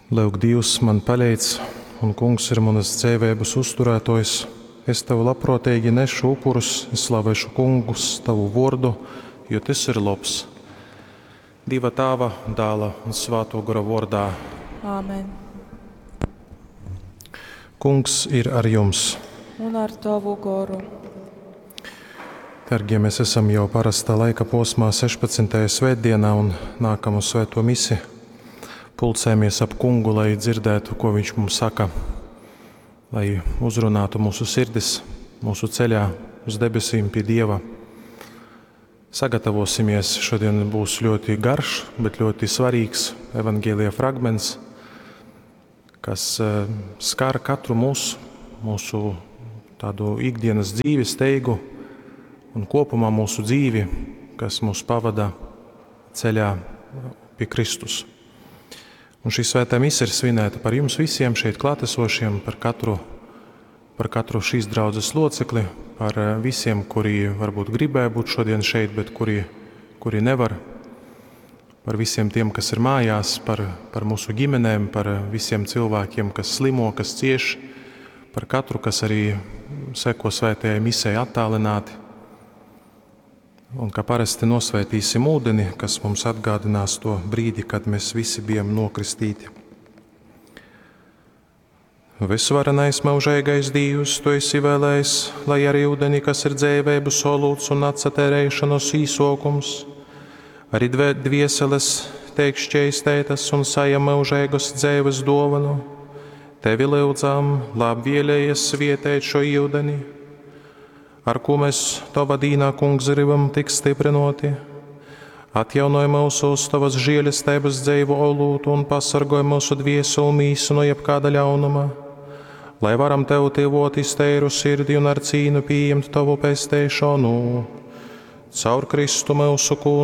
Lyuk, Dīvs man paleidz, un Kungs ir munas dzeiveibas uzturētōjs. Es tev labprōteigi nešu upurus, es slavēšu Kungus tavu vōrdu, jo tys ir lobs. Dieva Tāva, Dāla un Svātō Gora vōrdā. Āmen. Kungs ir ar jums. Un ar tavu goru. Dargie, mēs esam jau parastā laika posmā 16. svētdienā un nākamo svēto misi pulcējamies ap kungu, lai dzirdētu, ko viņš mums saka, lai uzrunātu mūsu sirdis, mūsu ceļā uz debesīm pie Dieva. Sagatavosimies, šodien būs ļoti garš, bet ļoti svarīgs evanģēlija fragments, kas skar katru mūsu, mūsu tādu ikdienas dzīvi, steigu un kopumā mūsu dzīvi, kas mūs pavada ceļā pie Kristus. Un šī svētā mise ir svinēta par jums visiem šeit klātesošiem, par katru šīs draudzes locekli, par visiem, kuri varbūt gribēja būt šodien šeit, bet kuri nevar, par visiem tiem, kas ir mājās, par mūsu ģimenēm, par visiem cilvēkiem, kas slimo, kas cieš, par katru, kas arī seko svētajai misei attālināti. Un kā parasti nosvētīsim ūdeni, kas mums atgādinās to brīdi, kad mēs visi bijām nokristīti. Visvarenais mūžīgais Dievs, tu esi vēlējis, lai arī ūdeni, kas ir dzēvēbu solūts un atsatērēšanos īsokums, arī dvieseles teik šķeistētas un sajam mūžīgas dzēves dovanu. Tevi lūdzam, labvēlējies svietēt šo ūdeni, ar ko mēs tava dīnā, kungs, gribam tik stiprinoti. Atjaunoj mūsos tavas žēlestības dzeivu olūtu un pasargoj mūsu dvieselu mīsu no jebkāda ļaunuma, lai varam tev tuvoties teiru sirdi un ar cīnu pieņemt tavu pesteišanu. Caur Kristu mūsu kungu.